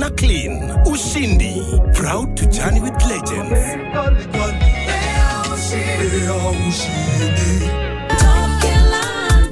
na clean. Ushindi. Proud to journey with legends.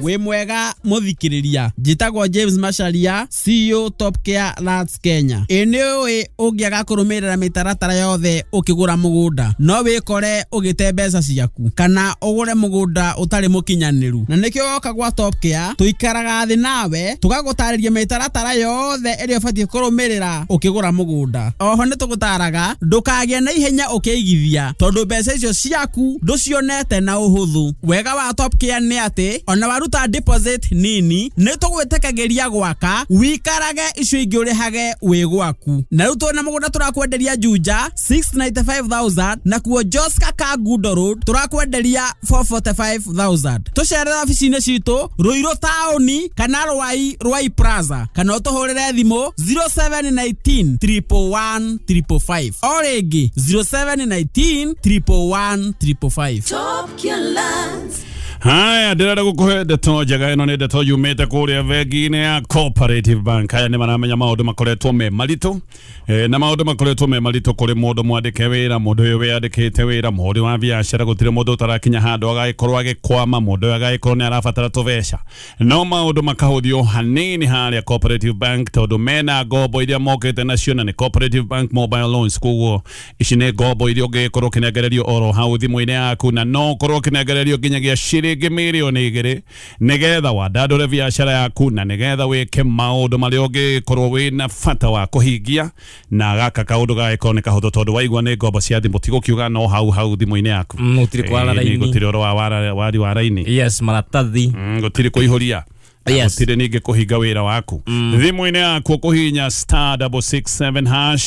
Wĩ mwega mũthikĩrĩria, njĩtagwo James Macharia, CEO Top Care Lands Kenya. Ĩ nĩ ũĩ ũngĩaga kũrũmĩrĩra mĩtaratara yothe ũkĩgũra mũgũnda no wĩkore ũgĩte mbeca ciaku kana ũgũre mũgũnda ũtarĩ mũkinyanĩru, na nĩkĩo woka gwa Top Care tũikaraga thĩ nawe tũgagũtarĩria mĩtaratara yothe ĩrĩa ũbatiĩ kũrũmĩrĩra ũkĩgũra mũgũnda. Oho nĩ tũgũtaraga ndũkagĩe na ihenya ũkĩigithia tondũ mbeca icio ciaku ndũcionete na ũhũthũ. Wega wa Top Care nĩ atĩ ona waruta deposit nini nĩ tũgwĩtĩkagĩria gwaka wikarage icio ingĩ ũrĩhage wĩ gwaku. Na rĩu twĩna mũgũnda tũrakwenderia Juja 695,000 na kuo Joska Kangundo Road tũrakwenderia 445,000. Tũcerere obici-inĩ citũ Ruiru taũni kana Rwai Rwai Plaza kana ũtũhũrĩre thimũ 0719 111 555 o rĩngĩ 0719 111 555. Top Care Lands. Haya, ndĩrenda gũkũhe ndeto njega. Ĩno nĩ ndeto yumĩte kũrĩa bengi-inĩ ya Cooperative Bank. Haya nĩ maramenya maũndũ makoretwo me maritũ, na maũndũ makoretwo me maritũ kũrĩ mũndũ mwandĩke wĩra, mũndũ ũyũ wĩyandĩkĩte wĩra, mũhũri wa biacara, gũtirĩ mũndũ ũtarakinya handũ agagĩkorwo agĩkwama, mũndũ ũyũ agagĩkorwo nĩ arabatara tũbeca, no maũndũ makahũthio hanini harĩa Cooperative Bank tondũ mena ngombo iria mokĩte nacio, na nĩ Cooperative Bank Mobile Loans. Koguo ici nĩ ngombo iria ũngĩgĩkorwo ũkĩnengererio oro hau thimũ-inĩ yaku, na no ũkorwo ũkĩnengererio nginyagia ciringi mirioni 2 nigetha wandandũre biacara yaku na nigetha wĩke maũndũ marĩa ũngĩkorwo wĩna bata wa kũhingia. Na gaka kaũndũ gagĩkorwo nĩ kahũthũ tondũ waigua nĩ ngombo cia thimũ, ti gũkiuga no hau hau thimũ-inĩ yaku. Gũtirĩ kwara raini, gũtirĩ ũhoro wa wari wa raini, yes, maratathi, gũtirĩ kũihũria, yes, gũtirĩ ningĩ kũhinga wĩra waku. Thimũ-inĩ yaku ũkũhihinya *667#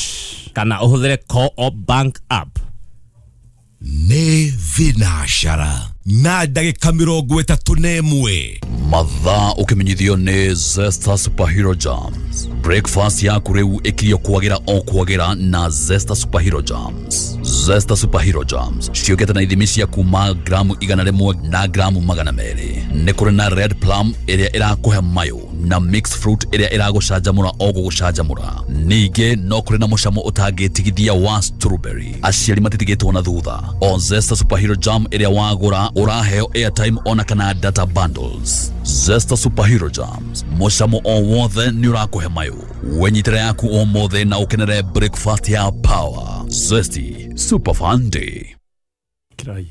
kana ũhũthĩre Co-op Bank app. Nĩ thinacara na ndagĩka 31. Mathaa ũkĩmenyithio nĩ Zesta Superhero Jams. Breakfast yaku rĩu ĩkirio kwagĩra o kwagĩra na Zesta Superhero Jams. Zesta Superhero Jams ciũkĩte na ithimi cia kuma gramu 100 na gramu 200. Nĩ kũrĩ na red plum ĩrĩa ĩrakũhe mayũ na mixed fruit ĩrĩa ĩragũcanjamũra o gũgũcanjamũra. Ningĩ no kũrĩ na mũcamo ũtangĩtigithia wa strawberry. Aciari matitigĩtwo na thutha. O Zesta Superhero Jam ĩrĩa wagũra ũraheo airtime ona kana data bundles. Zesta Superhero Jams, mũcamo o wothe nĩ ũrakũhe mayũ. Wenyitĩra yaku o mothe na ũkenere breakfast ya power. Zesty Super Fun Day. Kirai.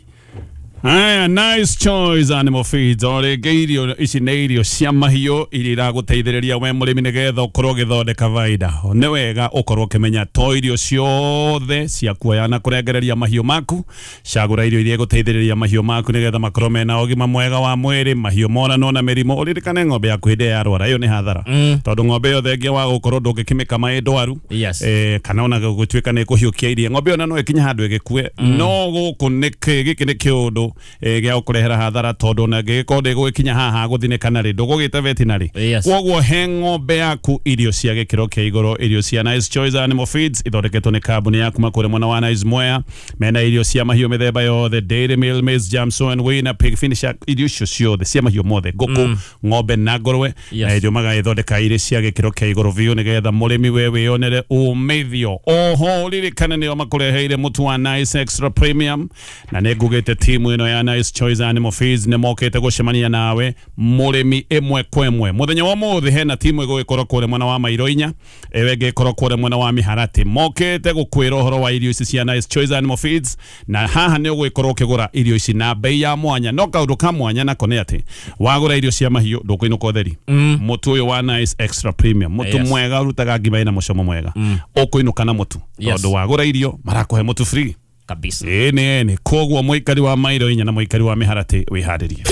Aya, Nice Choice Animal Feeds. O rĩngĩ irio ici nĩ irio cia mahiũ iria iragũteithĩrĩria we mũrĩmi nĩgetha ũkorwo ũgĩthondeka baida. Nĩ wega ũkorwo ũkĩmenya to irio ciothe cia kuoya na kũrengereria mahiũ maku. Cagũra irio iria igũteithĩrĩria mahiũ maku nĩgetha makorwo mena ũgima mwega wa mwĩrĩ, mahiũ moranwo na mĩrimũ. Ũririkane ng'ombe yaku hĩndĩ ĩrĩa yarwara, ĩyo nĩ hathara, tondũ ng'ombe ĩyo thengia wa gũkorwo ndũngĩkĩmĩkama ĩ ndwaru, yes, kana ona gũtuĩka nĩ ĩkũhiũkia iria, ng'ombe ĩyo no ĩkinye handũ ĩgĩkue. No gũkũ nĩ gĩkĩ nĩ kĩũndũ gĩa gũkũrehera hathara tondũ ona ngĩgĩkorwo ndĩgũgĩkinya haha gũthinĩkana rĩ, ndũgũgĩte veterinary. Koguo he ng'ombe yaku irio cia gĩkĩro kĩa igũrũ, irio cia Nice Choice Animal Feeds ithondeketwo nĩ kambuni ya kuma kũrĩa mwena wa Nice Mwea. Mena irio cia mahiũ mĩthemba yothe, dairy meal, maize, Jamson and Winner, pig finisher, irio icio ciothe cia mahiũ mothe, ngũkũ, ng'ombe na ngũrwe, na irio magagĩthondeka irĩ cia gĩkĩro kĩa igũrũ biũ nĩgetha mũrĩmi we wĩyonere umithio. Oho ũririkane nĩo makũreheire mũtu wa Nice Extra Premium, na nĩ ngugĩte timu ĩno ya Nice Choice Animal Feeds nĩ mokĩte gũcemania nawe mũrĩmi ĩmwe kwa ĩmwe. Mũthenya wa ũmũthĩ hena timu ĩgũgĩkorwo kũrĩa mwena wa Mairo inya, ĩyo ĩngĩ ĩkorwo kũrĩa mwena wa Mĩharatĩ. Mokĩte gũkwĩra ũhoro wa irio ici cia Nice Choice Animal Feeds, na haha nĩ ũgũgĩkorwo ũkĩgũra irio ici na bei ya mwanya. No kaũndũ ka mwanya nako nĩ atĩ wagũra irio cia mahiũ ndũkũinũka ũtheri. Mũtu ũyũ wa Nice Extra Premium, mũtu mwega ũrutaga ngima ĩna mũcamo mwega, ũkũinũka na mũtu tondũ wagũra irio marakũhe mũtu free kabisa. Ĩĩ nĩ koguo mũikari wa Mairo inya na mũikari wa Mĩharatĩ wĩharĩrie.